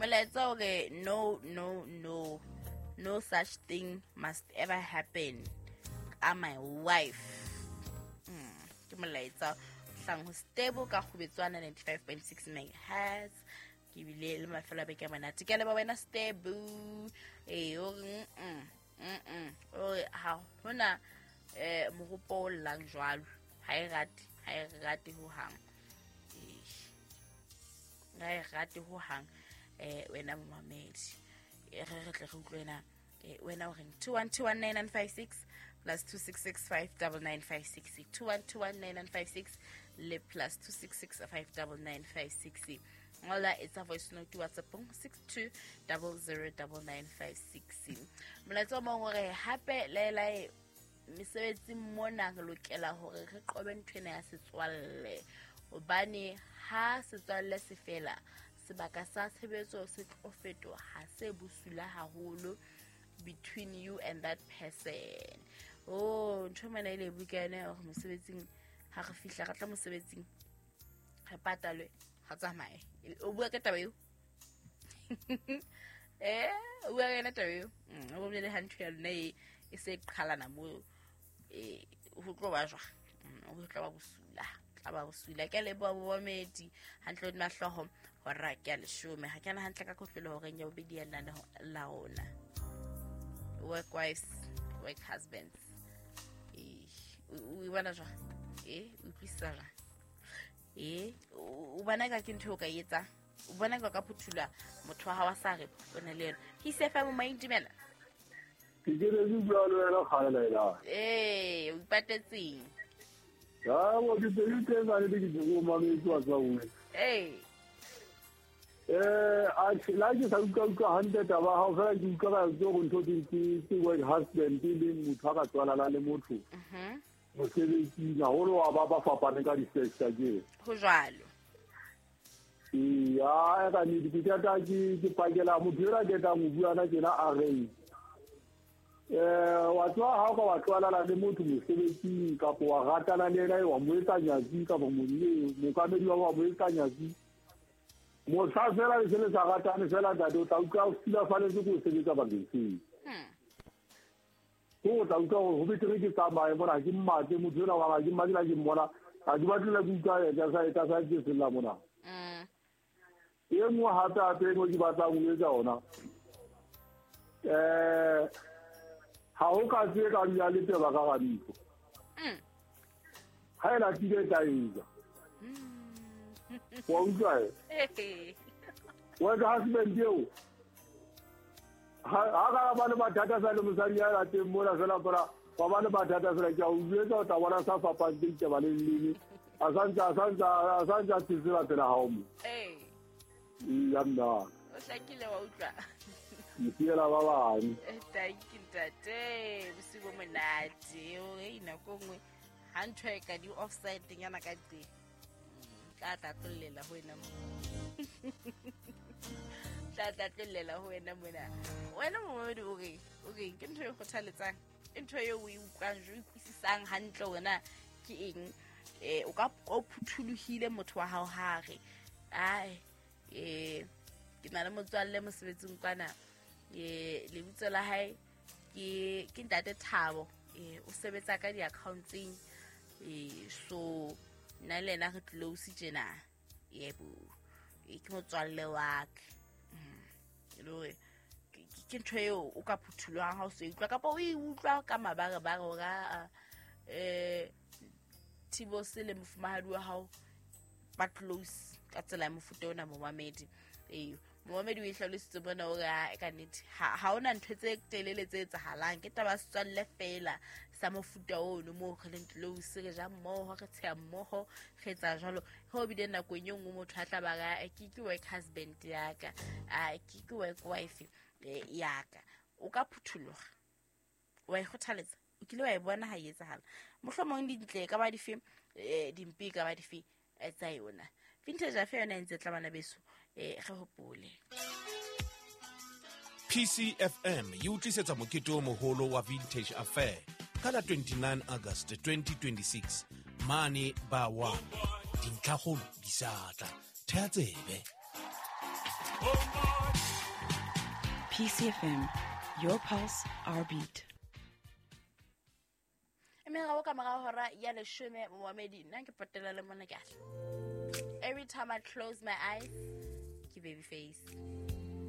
Molaetsa o re no, no, no, no such thing must ever happen ka my wife. Ke molaetsa hlang ho Stable ka Kgubetswana 95.6 megahertz. Ke bile le mafelo a beke a monate. Ke a leboha wena Stable. Ee, o re o re ha hona mohopo o llang jwalo. Ha e rate, ha e rate ho hang. Ha e rate ho hang. Wena momamedi. Re re tle re utlwe wena. Wena o reng? 21219956 plus 266599956. 21219956 le plus 266599956. Ngola etsa voice note WhatsAppong 62009956. Molaetsa o mong o re hape laelae mesebetsing mona re lokela hore re qobe ntho ena ya setswalle, hobane ha setswalle se fela sebaka sa tshebetso se tlo fetoha se bosula haholo between you and that person. Oh, ntho mana ile buka yona hore mosebetsing ha re fihla re tla mosebetsing re patalwe ga tsamaye. O bua ka taba eo? O bua ka yona taba eo? O bolele ha ntho ya lona e se qhalana mo, ho tlo ba jwang? Ho tla ba bosula, tla ba bosula. Ke a leboha bomamedi hantle hodima hlooho hora ke a leshome. Ha ke ana hantle ka kotlolo horeng ya bobedi ya lenaneo la rona. Work wives, work husbands. O bona jwang? O utlwisisa jwang? O bona ka ke ntho o ka e etsang? O bona ka ka phuthula motho wa hao a sa re o na le yena? Ke ise FM mo dumela. Ke ke re bua le wena kgale la. O ipatetseng? Ha o ke tse tse ba le ke go mametse wa tsa o. A la ke sa utlwa hantle taba ha o fela ke utlwa ka tso go ntho ke work husband le motho a ka tswalana le motho. Mosebetsing haholo wa ba ba fapane ka di-sector ke. Ho jwalo. Ya ka nnete ke qeta ke pakela motho ela ke tlang ho bua na tjena a re. Wa tswa ha o ka wa tlwaelana le motho mosebetsing kapa wa ratana le yena wa mo etsa nyatsi kapa mookamedi wa mo etsa nyatsi. Mohla fela le se le sa ratane fela ntate o tla utlwa o silafaletse ke ho sebetsa bakeng seo. Ko o tla utlwa hore ho betere ke tsamaye mona, ha ke mmatle motho enwa wa ka, ke mmatle ha ke mmona, ha ke batle le ke utlwa yena sa etsa sa ke sella mona. E nngwe hape hape e nngwe ke batlang ho etsa yona. Ha ho ka tse ka dula le teba ka hara ntlo. Ha e latile e tla eja. Wa utlwa e? Wa ka husband eo. Ha ka ba le mathata sa le mosadi ya lateng mona fela fela, wa ba le mathata fela ke a o jwetsa o tla bona sa fapang teng taba le leleme. A santse a tsetsela pela hao mo. Ya nna. O hlakile wa utlwa. Ke siela ba bang. Thank you ntate. Bosiu bo monate. O re nako nngwe ha ntho e ka di offside nyana ka teng. Tla tla tlollela ho wena mo. Tla tla tlollela ho wena mona. Wena momamedi o re, o re ke ntho e kgothaletsang, ke ntho eo o e utlwang, o e utlwisisang hantle hore na ke eng. O ka o phuthulohile motho wa hao ha re, ai, ke na le motswalle mosebetsing kwana, lebitso la hae ke ntate Thabo, o sebetsa ka di-accountsing, so nna le yena re close tjena. Yebo, ke motswalle wa ka. E le hore ke ntho eo o ka phuthulohang ha o so e utlwa, kapa o e utlwa ka mabarebare hore a, Thibose le mofumahadi wa hao ba close ka tsela ya mofuta ona momamedi. Momamedi o e hlalositse mona hore a, ka nnete, ha hona ntho tse telele tse etsahalang, ke taba ya setswalle fela sa mofuta ono moo re leng close, re ja mmoho, re tsheha mmoho, re etsa jwalo. Ho bile nakong e nngwe motho a tla ba re, ke work husband ya ka, ke work wife ya ka. O ka phutholoha, wa e kgothaletsa, o kile wa e bona ha e etsahala. Mohlomong dintle e ka ba dife, dimpe e ka ba dife, tsa yona. Vintage Affair yona e ntse tla bana beso, re hopole. PCFM e utlisetsa mokete o moholo wa Vintage Affair ka la 29 August 2026 mane ba wa dintlhakgolo di sa tla. Thea tsebe. PCFM, your pulse, our beat. Mme ka mora hora ya 10, momamedi, nna ke potela le mona ke a. Every time I close my eyes, ke baby face.